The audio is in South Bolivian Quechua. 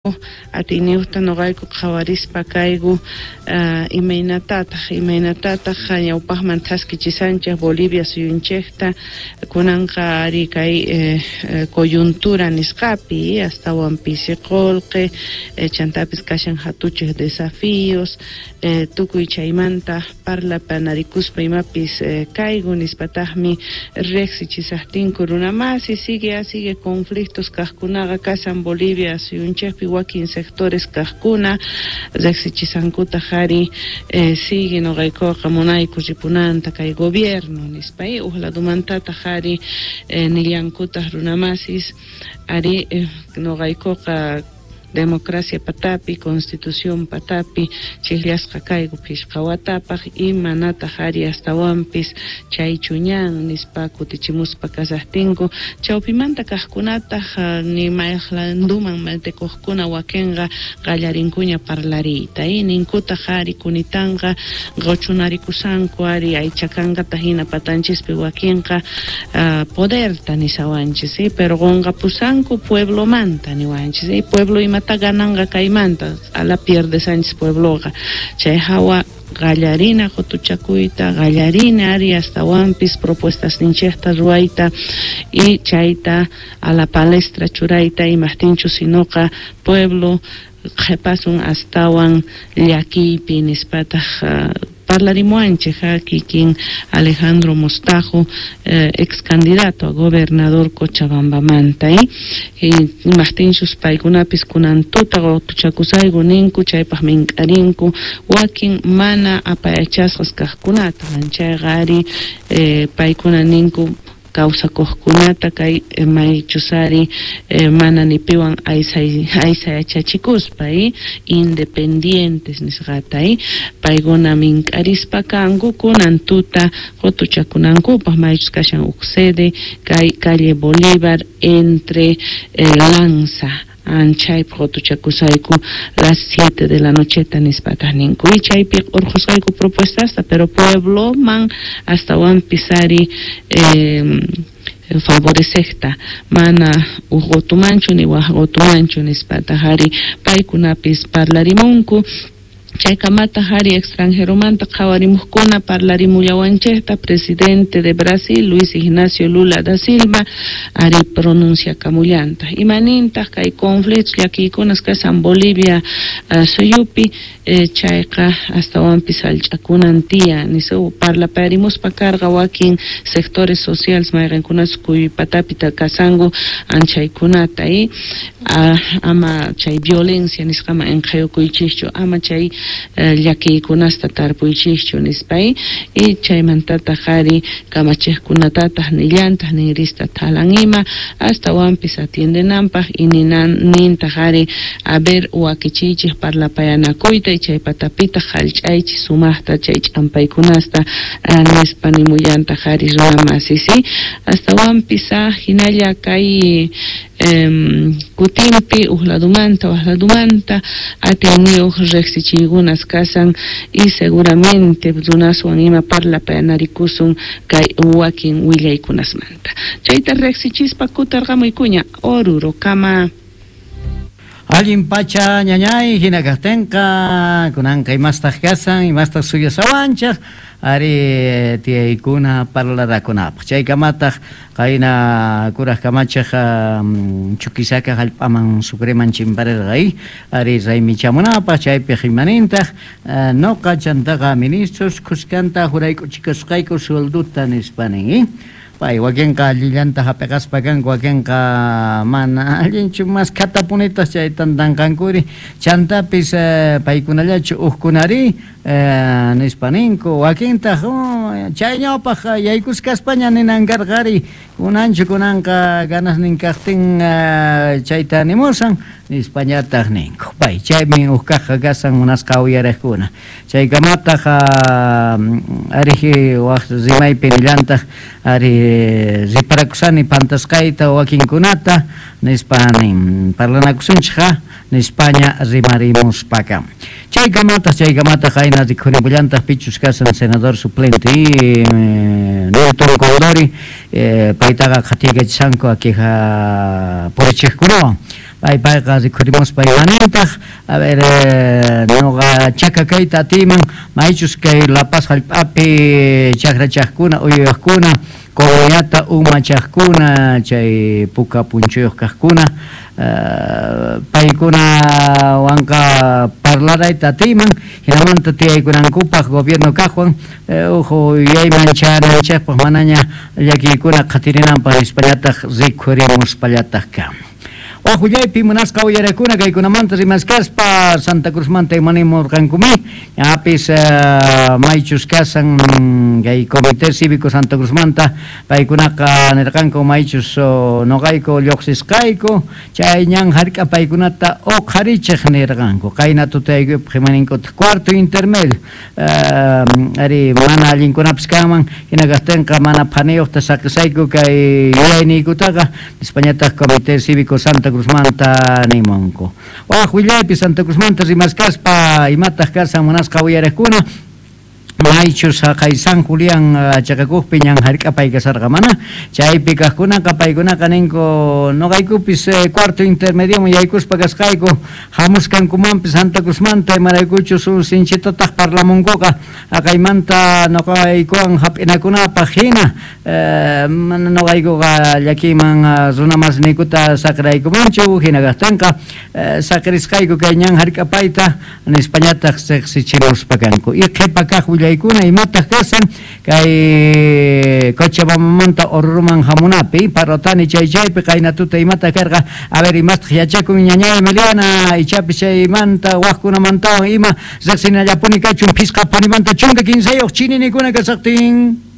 Atiyniyojta noqayku qhawarispa kayku imaynatataj ñawpajman thaskichisanchej Bolivia suyunchejta kunanqa ari kay coyuntura nisqapi astawan pisi qolqe chantapis kashan jatuchej desafíos tukuy chaymanta parlapanarikuspa imapis kayku nispatajmi rejsichisajtinku runamasi sigue sigue conflictos kajkunaqa kashan Bolivia suyunchejpi wakin sectores kajkuna rejsichisankutaj ari sigue noqaykuqa munayku ripunanta kay gobierno nispa uj ladomantataj ari nillankutaj runamasis ari noqaykuqa democracia patapi, constitución patapi, chijllasqa kayku phishqa watapaj imanataj ari astawanpis chaychu ñan nispa kutichimuspa kasajtinku chawpimanta kajkunataj ni mayqlanduman metekuqkuna wakinqa qallarinkuña parlariyta ninkutaj ari kunitanqa qochunarikusanku ari aychakankata hina patanchispi wakinqa poderta nisawanchis pero qonqapusanku pueblomanta niwanchis pueblo imata gananqa kaymanta ala pierde Sánchez puebloqa chay hawa qallarina qotuchakuyta qallarina ari astawanpis propuestas ninchejta ruwayta y chayta a la palestra churayta imajtinchu sinoqa pueblo qhepasun astawan llakiypi nispataj parlarimuanchej kikin Alejandro Mostajo ex candidato a gobernador Cochabambamanta imajtinchus paykunapis kunan tuta qotuchakusayku ninku chaypaj mink'arinku wakin mana apayachasqas kajkunata chayqa ari paykuna ninku kawsakuqkunata kay maychus ari mana nipiwan aysayachachikuspa independientes nisqata paykuna mink'arispa kanku kunan tuta qotuchakunankupaj maychus kashan uj sede kay calle Bolívar entre Lanza chaypi qotuchakusayku las 7 de la nocheta nispataj ninku y chaypi urqhusqayku propuestasta pero puebloman astawanpis ari favorecejta mana uj qotumanchu ni waj qotumanchu nispataj ari paykunapis parlarimunku chaykamataq ari extranjeromanta qhawarimuqkuna parlarimullawanchejta presidente de Brasil Luis Ignacio Lula da Silva ari pronunciakamullantaq imanintaq kay conflictos llakiykunas kashan Bolivia suyupi chayqa astawanpis sallch'akunan tiyan nisa parlaparimuspa karqa wakin sectores sociales mayqinkunas kuypatapi kasanku anchaykunata ama chay violencia nisqaman inqhayukuychikchu ama chay llakiykunasta tarpuychikchu nispa y chaymantataq ari kamachejkunatataq nillantaq ninrista thalan ima astawanpis atiendenanpaj y nintaq ari a ver wakichiychik parlapayanakuyta y chay patapitaq jallch'aychik sumaqta chay ch'ampaykunasta nispa nimullantaq ari runamasis astawanpis hinalla kay kutinpi uj ladumanta waj ladumanta atiyniyuq rejsichiykunas kasan y seguramente runaswan ima parlapayanarikusun kay wakin willaykunasmanta chayta rejsichispa kutarqamuykuña Orurokama. Allin pacha ñañay hina kajtinqa kunanqa imastaq kasan imastaq suyasawanchaj ari tiyaykuna parlarakunapaq chaykamataq qayna kuraj kamachej Chuquisaca jallp'aman Sucreman chimparerqa ari raymichamunapaq chaypiq imanintaq noqa chantaqa ministros khuskanta jurayk'uchikusqayku suelduta nispa nin pay wakinqa allillanta hap'iqaspa kanku wakinqa mana allinchu mas khatapunitas chay tantanqankuri chantapis paykunallachu ujkunari nispa ninku wakintaq chay ñawpaq yaykuskaspaña ninan karqari kunanchu kunanqa ganasnin kajtin chayta nimusan nispañataq ninku pay chaymi uj kajqa kasan munasqa uyariqkuna chaykamataq ariji waj rimaypi nillantaq ari riparakusani pantasqayta wakinkunata nispa nin parlanakusunchikqa nispaña rimarimuspaka chaykamataq qayna rikhurimullantaq pichus kasan senador suplente Nilton Condori paytaqa qhatiykachishanku akija purichikkunawan. Payqa rikhurimuspa imanintaq, a ver, noqa chaka kayta atiyman, maychus kay La Paz jallp'api chajrachajkuna, uywajkuna, comunidadta umachajkuna, chay puka punchuyuq kajkuna, paykunawanqa parlarayta atiyman, hinamanta tiyaykunankupaq gobierno kajwan, uj yuyayman chayananchejpaq manaña llakiykuna qhatirinanpaq nispallataj rikhurimuspallataq kan. Waj willaypi munasqa uyarakuna kaykunamanta rimaskaspa Santa Cruzmanta imanimurqankumi, ñapis maychus kasan kay Comité Cívico Santa Cruzmanta paykunaqa nirqanku maychus noqayku lluqsisqayku chay ñan hark'a paykunata uqharichej nirqanku qayna tutayaykupaq imaninkutaj cuarto intermedio ari mana allinkunapis kanman hina kajtinqa mana phaniyuqta saqisayku kay yuyayniykutaqa nispañataq Comité Cívico Santa Cruzmanta nimunku. Waj willaypi Santa Cruzmanta rimaskaspa imataq kasan munasqa uyariqkuna maychus haqay San Julián chaqakuqpi ñan hark'apay kasarqa mana chaypi kaqkunaqa paykunaqa ninku noqaykupis cuarto intermedioman yaykuspa kasqayku hamuskankumanpis Santa Cruzmanta imaraykuchus un sinchitataq parlamunkuqa haqaymanta noqaykuwan hap'inakunapaq hina mana noqaykuqa llakiyman runa masniykuta saqiraykumanchu hina kaqtinqa saqirisqayku kay ñan hark'apayta nispañataq riqsichimuspa kanku. Y qhipa kaq willaykuna imataq kasan kay Cochabambamanta Oruroman hamunapi Parotani chay chaypi qayna tuta imataq karqa a ver imastaq yachakun ñañay Emiliana ichapis chaymanta wajkunamantawan ima riqsinallapuni kachun phisqa phanimanta 13 chininikuna kasaqtin.